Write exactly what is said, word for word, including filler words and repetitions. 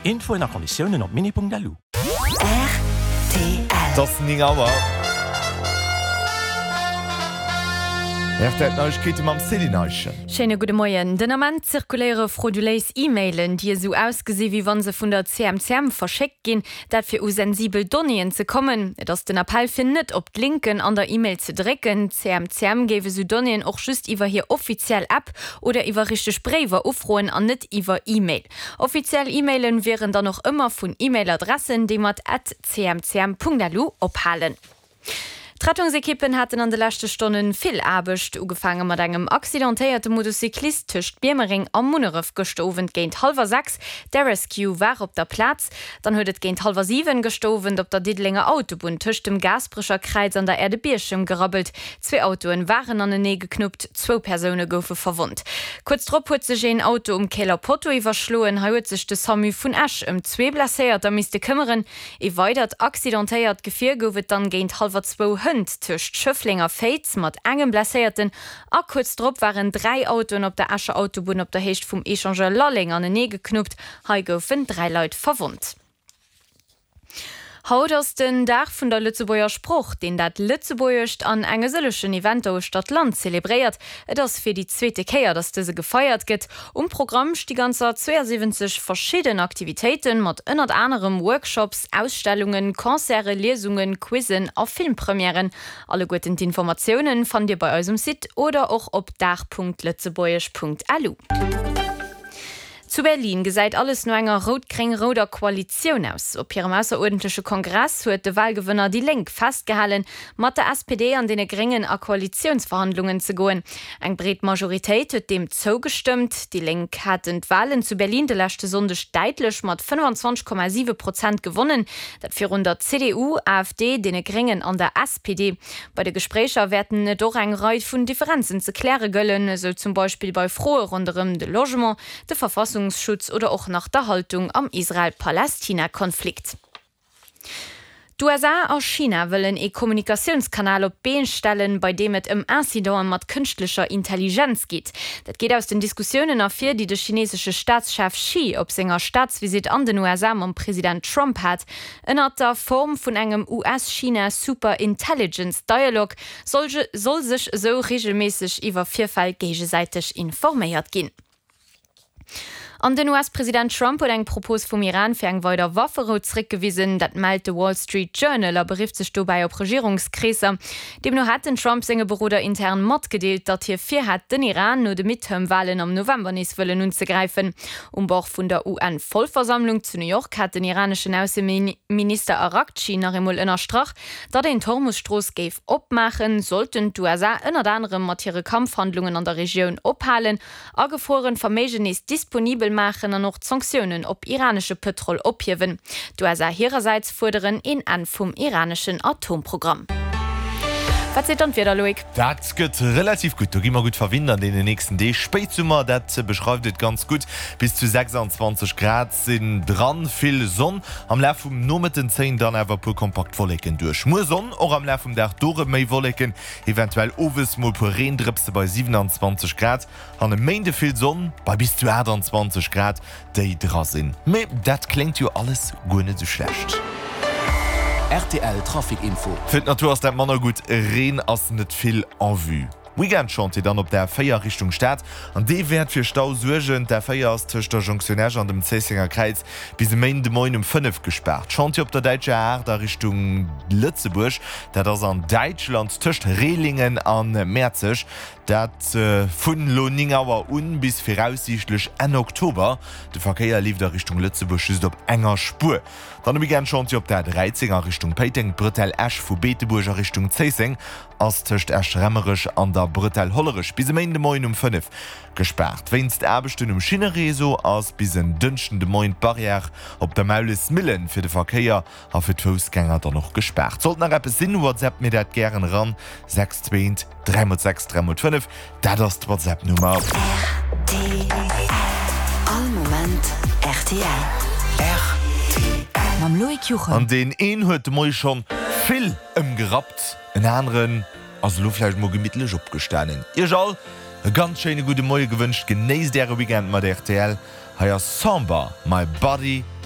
Infoen a Konditiounen op mini punkt lu. R T L. Et ass néng Auer. R T L Neiegkeete mam Céline Eischen. Schéine gudde Moien. Den Ament zirkuléiere frauduléis E-Mailen, déi esou ausgesi wéi wann se vun der C M C M verschéckt ginn, dat fir u sensibel Donnéeën ze kommen. Et ass den Appell fir net op d'Linken an der E-Mail ze drécken. D'C M C M géif esou Donnéeën och just iwwer hir offiziell App oder iwwer richteg Bréiwer ufroen an net iwwer E-Mail. Offiziell E-Mailen wieren dann och ëmmer vun E-Mail-Adressen, déi mat at cmcm punkt lu ophalen. D'Rettungsekippen haten an de leschte Stonne vill Aarbecht, ugefaange mat engem accidentéierte Motocyclist tëscht Biermereng a Munneref gëschter Owend géint hallwer sechs. D'Air Rescue war op der Plaz. Dann huet et géint hallwer siwen gëschter Owend op der Diddelenger Autobunn tëscht dem Gaasperecher Kräiz an der Aire de Bierchem gerabbelt. Zwee Autoen waren anenee geknuppt, zwou Persoune goufe verwonnt. Kuerz drop huet sech een Auto um Käler Potto iwwerschloen. Hei huet sech de Samu vun Esch ëm zwee Blesséierter misste këmmeren. Ee weidert accidentéiert Gefier gouf et dann géint hallwer zwou hënt tëscht Schëffleng a Féiz mat engem Blesséierten a kuerz drop waren dräi Autoen op der Escher Autobunn op der Héicht vum Echangeur Lalleng anenee geknuppt. Hei goufen dräi Leit verwonnt. Haut ass den Dag vun der Lëtzebuerger Sprooch, deen dat Lëtzebuergescht an enge sëllegen Eventer uechter d'Land zelebréiert. Et ass fir déi zweete Kéier, datt dëse gefeiert gëtt. Um Programm sti ganzer zweeasiwwenzeg verschidden Aktivitéiten, mat ënnert anerem Workshops, Ausstellungen, Concerten, Liesungen, Quizzen a Filmpremièren. Alleguerten d'Informatiounen fannt Dir bei eis um Site oder och op dag punkt lëtzebuergesch punkt lu. Zu Berlin gesäit alles no enger rout-gréng-rouder Koalitioun aus. Op hirem ausseruerdentleche Kongress huet de Walgewënner déi Lénk festgehalen, mat der S P D an deene Gréngen a Koalitiounsverhandlungen ze goen. Eng breet Majoritéit huet deem zougestëmmt. Déi Lénk haten d'Walen zu Berlin de leschte Sonndeg däitlech mat fënnefanzwanzeg Komma siwe Prozent gewonnen, dat virun der C D U, A F D, deene Gréngen an der S P D. Bei de Gespréicher wäerten et och eng Rei vun Differenzen ze kläre gëllen, esou zum Beispill bei Froe ronderëm de Logement, de Verfassungsschutz oder och nach der Haltung am Israel-Palästina-Konflikt. D'U S A a China wëllen ee Kommunikatiounskanal op d'Been stellen, bei deem et ëm Incidente mat kënschtlecher Intelligenz geet. Dat geet aus den Diskussiounen ervir, déi de chineesesche Staatschef Xi op senger Staatsvisitt an den U S A mam President Trump hat. Ënnert der Form vun engem U S-China Super Intelligence Dialogue soll soll sech esou reegelméisseg iwwer Virfäll géigesäiteg informéiert ginn. An den U S-President Trump huet eng Propos vum Iran fir eng weider Wafferou zeréckgewisen. Dat mellt de Wall Street Journal a berifft sech dobäi op Regierungskreesser. Deemno hätt den Trump senge Beroder intern matgedeelt, datt hie virhätt, den Iran no de Midterm-Walen am November nees wëllen unzegräifen. Um Bord vun der U N-Vollversammlung zu New York hat den iraneschen Ausseminister Araghchi nach eemol ënnerstrach, datt een d'Hormus-Strooss géif opmaachen, sollten d'U S A ënnert anerem mat hire Kampfhandlungen an der Regioun ophalen, agefrueren Verméigen nees disponibel maachen an och d'Sanktiounen op iranesche Pëtrol ophiewen. D'U S A hirersäits fuerderen een Enn vum iraneschen Atomprogramm. Wat seet dann d'Wieder, Loïc? Dat gëtt relativ gutt, do gi mer gutt verwinnt an deenen nächsten Deeg. Spéitsummer, dat beschreift et ganz gutt, bis zu sechsanzwanzeg Grad sinn dran, vill Sonn. Am Laf vum Nomëtten zéien dann awer e puer kompakt Wolleken duerch. Muer Sonn och am Laf vum Dag, do rëm méi Wolleken, eventuell owes mol e puer Reendrëpse bei siewenanzwanzeg Grad. An e Méinde vill Sonn bei bis zu aachtanzwanzeg Grad déi dra sinn. Mee dat kléngt jo alles guer net esou schlecht. R T L Trafic Info. Fir d'Natur ass dat manner gutt, Reen ass net vill en vue. Weekend-Chantier dann op der A véier Richtung Stad an dee wäert fir Stau suergen. D'A véier ass tëscht der Jonktioun Esch an dem Zéissenger Kräiz bis e Méinden de Moien um fënnef gespaart. Chantier op der däitscher A aacht a Richtung Lëtzebuerg, dat ass an Däitschland tëscht Rehlingen a Mäerzeg, dat vun elo néng Auer un bis viraussiichtlech Enn Oktober. De Verkéier leeft a Richtung Lëtzebuerg just op enger Spuer. Dann e Weekend-Chantier op der A dräizéng a Richtung Péiteng, d'Bretelle Esch vu Beetebuerg a Richtung Zéisseng ass tëscht Esch-Remmerech an der Bretelle Hollerech bis e Méinden de Moien um fënnef gespaart. Wéinst Aarbechten um Schinnereseau ass bis en Dënschden de Moien d'Barrière op der Maulesmillen fir de Verkéier a fir d'Foussgänger dann och gespaart. Sollt nach eppes sinn, WhatsAppt mir dat gären eran, sechs zwee eent dräi mol sechs dräi mol fënnef, dat ass d'WhatsApp-Nummer. R T L. All Moment R T L. R T L. Mam Loïc Juchem. An deen een huet de Moie schonn vill ëmgerappt, en aneren ass elo vläicht mol gemittlech opgestanen. Iech all e ganz schéine gudde Moie gewënscht, genéisst äre Weekend mat R T L. Hei ass Samba, My Body.